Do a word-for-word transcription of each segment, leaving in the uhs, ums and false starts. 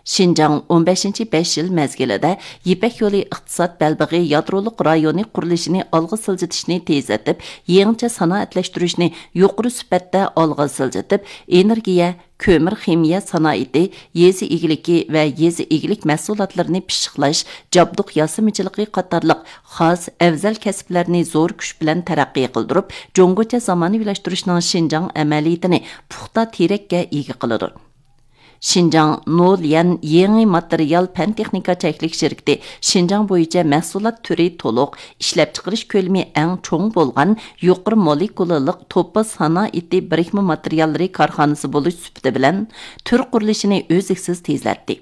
شىنجاڭ ئون بەشىنچى بەش يىل مەزگىلىدە يىپەك يولى ئىقتىساد بەلبېغى يادرولۇق رايونى قۇرۇلۇشىنى ئالغا سىلجىتىشنى تېزلىتىپ، يېڭىچە سانائەتلەشتۈرۈشنى يۇقىرى سۈپەتتە ئالغا سىلجىتىپ، ئېنېرگىيە، كۆمۈر خىمىيە سانائىتى، يېزا ئىگىلىكى ۋە يېزا ئىگىلىك مەھسۇلاتلىرىنى پىششىقلاش، جابدۇق ياسىمىچىلىقى قاتارلىق خاس ئەۋزەل كەسىپلەرنى زور كۈچ بىلەن تەرەققىي قىلدۇرۇپ، جۇڭگوچە زامانىۋىلاشتۇرۇشنىڭ شىنجاڭ ئەمەلىيىتىنى پۇختا تىرەككە ئىگە قىلىدۇ. شىنجاڭ نوليەن يېڭى ماتېرىيال پەن تېخنىكا چەكلىك شىركىتى شىنجاڭ بويىچە مەھسۇلات تۈرى تولۇق، ئىشلەپچىقىرىش كۆلىمى ئەڭ چوڭ بولغان يۇقىرى مولېكۇلالىق توپا سانائىتى بىرىكمە ماتېرىياللىرى كارخانىسى بولۇش سۈپىتى بىلەن تۈر قۇرۇلۇشىنى ئۈزلۈكسىز تېزلەتتى.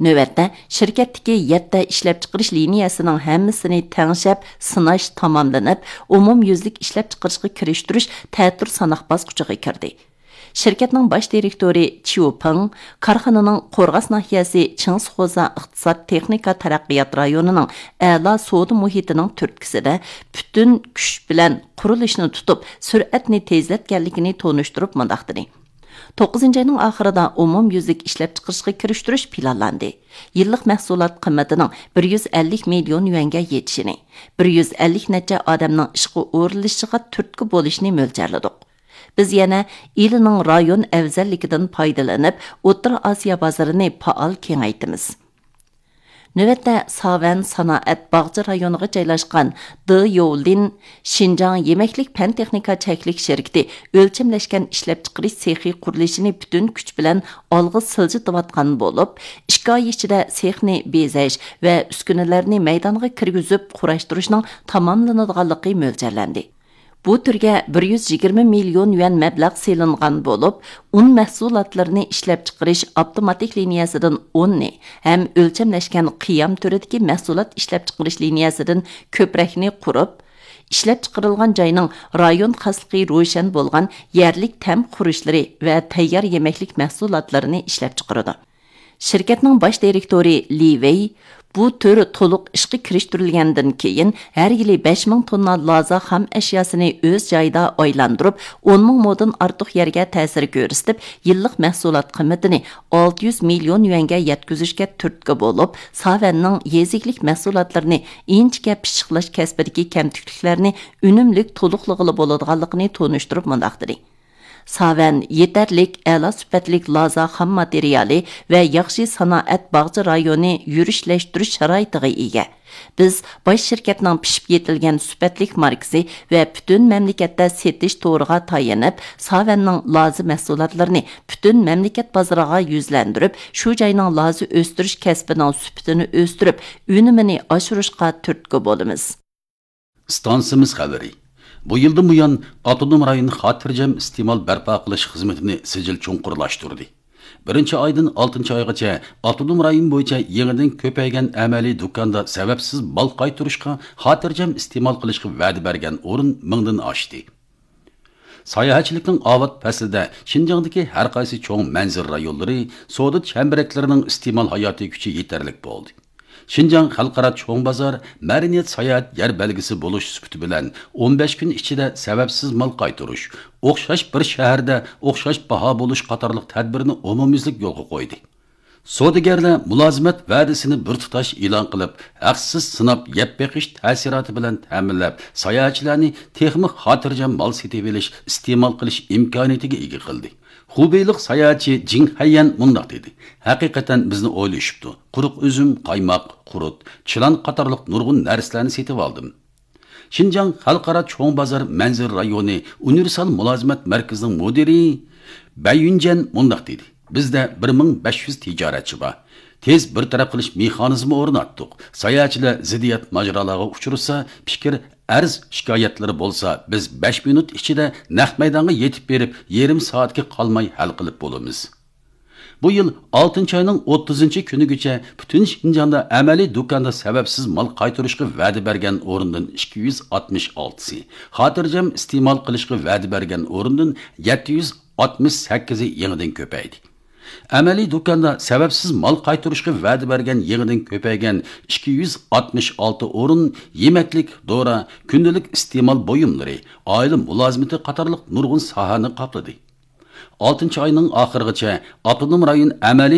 نۆۋەتتە، شىركەتتىكى يەتتە ئىشلەپچىقىرىش لىنىيەسىنىڭ ھەممىسىنى تەڭشەپ سىناش تاماملىنىپ، ئومۇميۈزلۈك ئىشلەپچىقىرىشقا كىرىشتۈرۈش تەتۈر ساناق باسقۇچىغا كىردى. شىركەتنىڭ باش دىرېكتورى چيۇ پېڭ كارخانىنىڭ قورغاس ناھىيەسى چىڭسىخوزا ئىقتىساد تېخنىكا تەرەققىيات رايونىنىڭ ئەلا سودا مۇھىتىنىڭ تۈرتكىسىدە پۈتۈن كۈچ بىلەن قۇرۇلۇشنى تۇتۇپ، سۈرئەتنى تېزلەتكەنلىكىنى تونۇشتۇرۇپ مۇنداق دېدى: توققۇزىنچى ئاينىڭ ئاخىرىدا ئومۇميۈزلۈك ئىشلەپچىقىرىشقا كىرىشتۈرۈش پىلانلاندى. يىللىق مەھسۇلات قىممىتىنىڭ بىر يۈز ئەللىك مىليون يۈەنگە يېتىشىنى، بىر يۈز ئەللىك نەچچە ئادەمنىڭ ئىشقا ئورۇنلىشىشىغا تۈرتكە بولۇشىنى مۆلچەرلىدۇق. بىز يەنە ئىلىنىڭ رايون ئەۋزەللىكىدىن پايدىلىنىپ، ئوتتۇرا ئاسىيا بازىرىنى پائال كېڭەيتىمىز. نۆۋەتتە، ساۋەن سانائەت باغچە رايونىغا جايلاشقان دې يوۋلىن شىنجاڭ يېمەكلىك پەن تېخنىكا چەكلىك شىركىتى ئۆلچەملەشكەن ئىشلەپچىقىرىش سېخى قۇرۇلۇشىنى پۈتۈن كۈچ بىلەن ئالغا سىلجىتىۋاتقان بولۇپ، ئىككى ئاي ئىچىدە سېخنى بېزەش ۋە ئۈسكۈنىلەرنى مەيدانغا كىرگۈزۈپ قۇراشتۇرۇشنىڭ تاماملىنىدىغانلىقى مۆلچەرلەندى. بۇ تۈرگە بىر يۈز يىگىرمە مىليون يۈەن مەبلەغ سېلىنغان بولۇپ، ئۇن مەھسۇلاتلىرىنى ئىشلەپچىقىرىش ئاپتوماتىك لىنىيەسىدىن ئوننى ھەم ئۆلچەملەشكەن قىيام تۈرىدىكى مەھسۇلات ئىشلەپچىقىرىش لىنىيەسىدىن كۆپرەكنى قۇرۇپ، ئىشلەپچىقىرىلغان جاينىڭ رايون خاسلىقى روشەن بولغان يەرلىك تەم خۇرۇچلىرى ۋە تەييار يېمەكلىك مەھسۇلاتلىرىنى ئىشلەپچىقىرىدۇ. شىركەتنىڭ باش دىرېكتورى لى ۋېي، بۇ تۈر تولۇق ئىشقا كىرىشتۈرۈلگەندىن كېيىن، ھەر يىلى بەش مىڭ توننا لازا خام ئەشياسىنى ئۆز جايىدا ئايلاندۇرۇپ، ئون مىڭ مودىن ئارتۇق يەرگە تەسىر كۆرسىتىپ، يىللىق مەھسۇلات قىممىتىنى ئالتە يۈز مىليون يۈەنگە يەتكۈزۈشكە تۈرتكە بولۇپ، ساۋەننىڭ يېزا ئىگىلىك مەھسۇلاتلىرىنى ئىنچىكە پىششىقلاش كەسپىدىكى كەمتۈكلۈكلەرنى ئۈنۈملۈك تولۇقلىغىلى بولىدىغانلىقىنى تونۇشتۇرۇپ مۇنداق دېدى: ساۋەن يېتەرلىك ئەلا سۈپەتلىك لازا خام ماتېرىيالى ۋە ياخشى سانائەت باغچە رايونى يۈرۈشلەشتۈرۈش شارائىتىغا ئىگە. بىز باش شىركەتنىڭ پىشىپ يېتىلگەن سۈپەتلىك ماركىسى ۋە پۈتۈن مەملىكەتتە سېتىش تورىغا تايىنىپ، ساۋەننىڭ لازا مەھسۇلاتلىرىنى پۈتۈن مەملىكەت بازىرىغا يۈزلەندۈرۈپ، شۇ جاينىڭ لازا ئۆستۈرۈش كەسپىنىڭ سۈپىتىنى ئۆستۈرۈپ، ئۈنۈمىنى ئاشۇرۇشقا تۈرتكە بولىمىز. ئىستانسىمىز خەۋىرى. بۇ يىلدىن بۇيان، ئاپتونوم رايون خاتىرجەم ئىستېمال بەرپا قىلىش خىزمىتىنى سىجىل چوڭقۇرلاشتۇردى. بىرىنچى ئايدىن ئالتىنچى ئايغىچە ئاپتونوم رايون بويىچە يېڭىدىن كۆپەيگەن ئەمەلىي دۇكاندا سەۋەبسىز مال قايتۇرۇشقا خاتىرجەم ئىستېمال قىلىشقا ۋەدە بەرگەن ئورۇن مىڭدىن ئاشتى. ساياھەتچىلىكنىڭ ئاۋات پەسلىدە شىنجاڭدىكى ھەر قايسى چوڭ مەنزىرە رايونلىرى، سودا چەمبىرەكلىرىنىڭ ئىستېمال ھاياتىي كۈچى يېتەرلىك بولدى. شىنجاڭ خەلقئارا چوڭ بازار مەدەنىيەت ساياھەت يەر بەلگىسى بولۇش سۈپىتى بىلەن ئون بەش كۈن ئىچىدە سەۋەبسىز مال قايتۇرۇش، ئوخشاش بىر شەھەردە ئوخشاش باھا بولۇش قاتارلىق تەدبىرنى ئومۇميۈزلۈك يولغا قويدى. سودىگەرلەر مۇلازىمەت ۋەدىسىنى بىر تۇتاش ئېلان قىلىپ، ھەقسىز سىناپ يەپ بېقىش تەسىراتى بىلەن تەمىنلەپ، ساياھەتچىلەرنى تېخىمۇ خاتىرجەم مال سېتىۋېلىش، ئىستېمال قىلىش ئىمكانىيىتىگە ئىگە قىلدى. خۇبېيلىق ساياھەتچى جىڭ خەييەن مۇنداق دېدى: ھەقىقەتەن بىزنى ئويلىشىپتۇ. قۇرۇق ئۈزۈم، قايماق، قۇرۇت، چىلان قاتارلىق نۇرغۇن نەرسىلەرنى سېتىۋالدىم. شىنجاڭ خەلقئارا چوڭ بازار مەنزىرە رايونى ئۇنىۋېرسال مۇلازىمەت مەركىزىنىڭ مۇدىرى بەي يۈنجەن مۇنداق دېدى: بىزدە بىر مىڭ بەش يۈز تىجارەتچى بار. تېز بىر تەرەپ قىلىش مېخانىزمى ئورناتتۇق. ساياھەتچىلەر زىددىيەت ماجىرالارغا ئۇچرىسا، پىكىر، ئەرز، شىكايەتلىرى بولسا، بىز بەش مىنۇت ئىچىدە نەق مەيدانغا يېتىپ بېرىپ، يېرىم سائەتكە قالماي ھەل قىلىپ بولىمىز. بۇ يىل ئالتىنچى ئاينىڭ ئوتتۇزىنچى كۈنىگىچە پۈتۈن شىنجاڭدا ئەمەلىي دۇكاندا سەۋەبسىز مال قايتۇرۇشقا ۋەدە بەرگەن ئورۇندىن ئىككى يۈز ئاتمىش ئالتىسى، خاتىرجەم ئىستېمال قىلىشقا ۋەدە بەرگەن ئورۇندىن يەتتە يۈز ئاتمىش سەككىزى يېڭىدىن كۆپەيدى. ئەمەلىي دۇكاندا سەۋەبسىز مال قايتۇرۇشقا ۋەدە بەرگەن يېڭىدىن كۆپەيگەن ئىككى يۈز ئاتمىش ئالتە ئورۇن يېمەكلىك، دورا، كۈندىلىك ئىستېمال بۇيۇملىرى، ئائىلە مۇلازىمىتى قاتارلىق نۇرغۇن ساھەنى قاپلىدى. ئالتىنچى ئاينىڭ ئاخىرىغىچە ئاپتونوم رايون ئەمەلىي